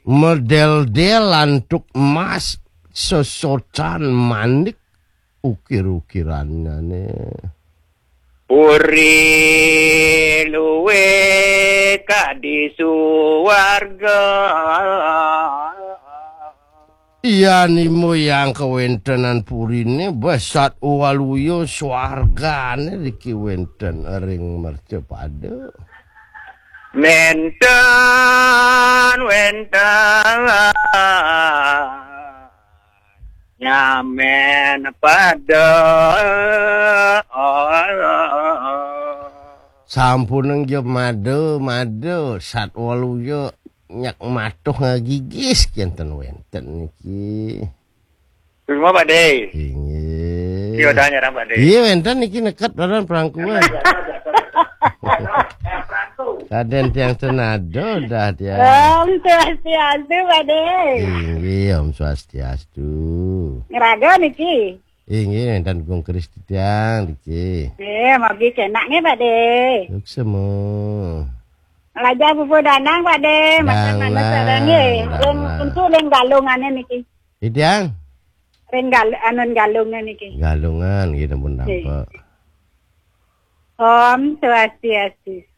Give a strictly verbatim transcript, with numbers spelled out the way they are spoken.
Medeldel antuk emas, sesocan manik ukir-ukirannya nih. Puri luwe kadi suwarga. Iya, nimo yang kawéntenan puriné, besat waluya swargané riki wénten ring mercapada. Nénten wénten nyamén pada. Sampunang ja mada, mada, satwaluya nyak matuh ngagigis kénten wénten niki. Terima, Pak De. Inggih. Iya, udah nyerang, Pak De. Iya, wénten niki neket lawan prangkuan. Kadén tiang senado dah tiang. Om Swastiastu, Pak De. Inggih, Om Swastiastu. Ngraga niki. Inggih, wénten Gung Kris titiang niki. Nggih, mugi kénak nggih, Pak De. Suksma. Lajah pupuh Danang, Pak De. Matur Danang, manut sareng nggih. Danang. Ring, untuk ring Galungané niki. Titiang? Ring Gal-, anun Galungan niki. Galungan nggih, sampun. Nggih. Nampa. Om Swastiastu.